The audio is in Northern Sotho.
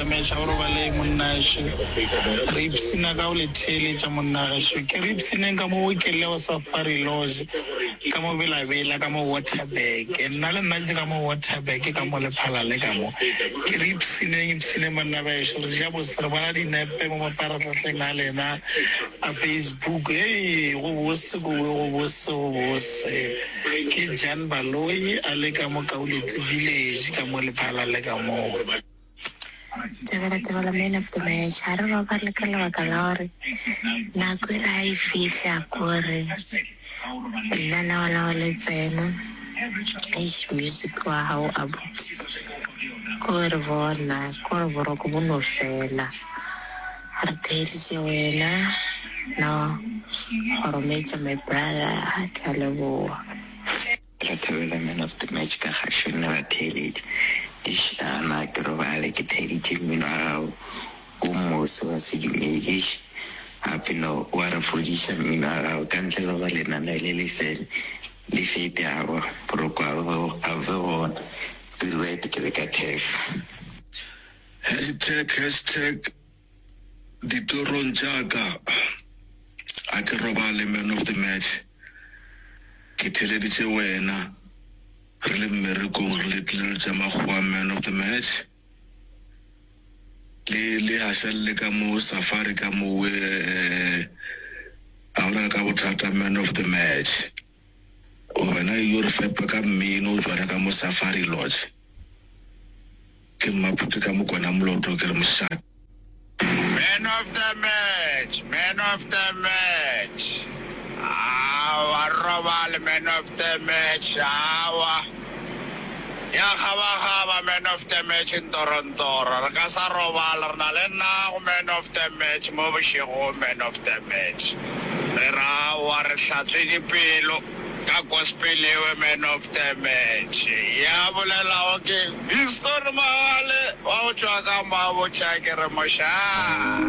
match, ga o robale monnašo. Re ipshina ka go le theeletša monnagešo. Ke re ipshineng ka mo Okeleo Safari Lodge, ka mo Bela-Bela, ka mo Waterberg. Nna le nna ke ka mo Waterberg, ka mo Lephalale ka mo. Ke re ipshineng, ipshineng banna bešo. Re ja bose, re bona dinepe mo mafarahlahleng a lena a Facebook. Hei, go bose kowe, go bose, go bose. Ke Jan Baloyi a le ka mo Kauletsi Village ka mo Lephalale ka mo. Tebela tebela man of the match ga re robale ka lebaka la gore nako e re ga e fihla kore lenaneo la go le tsena eish music wa gago abuti kore bona kore boroko bo no fela re theeditše wena no kgorometša my brother ke a leboga. Ke thabela man of the match ka gašo nna batheeletši. Eish ana ke robale ke theeditše mmino wa gago o mose wa sedumedi eish gape no wa re fodiša mmino wa gago ka ntle le gore lenaneo le le fele le fete aowa boroko a bo be gona Pirouette ke le ka thefo. Hashtag hashtag Ditorong tša ka ga ke robale man of the match ke theleditše wena re le mmerekong re le tlilelo tša makgowa man of the match le le hašalle ka mo safari ka mowe ga gona ka bothata man of the match wena yo re fepa ka mmino o tšwara ka mo safari lodge. Ke Mmaphuti ka Mokwena Moloto ke re mošate. Man of the match, man of the match, aowa re robale man of the match, aowa ya kgabakgaba man of the match ntorontoro, re ka sa robala re na le nago man of the match mo bošegong man of the match, re re aowa re hlatswe dipelo. Ka gospel ewe man of the match ya bolelago ke Viston Mogale wa go tšwa ka Mabotja ke re mošaa.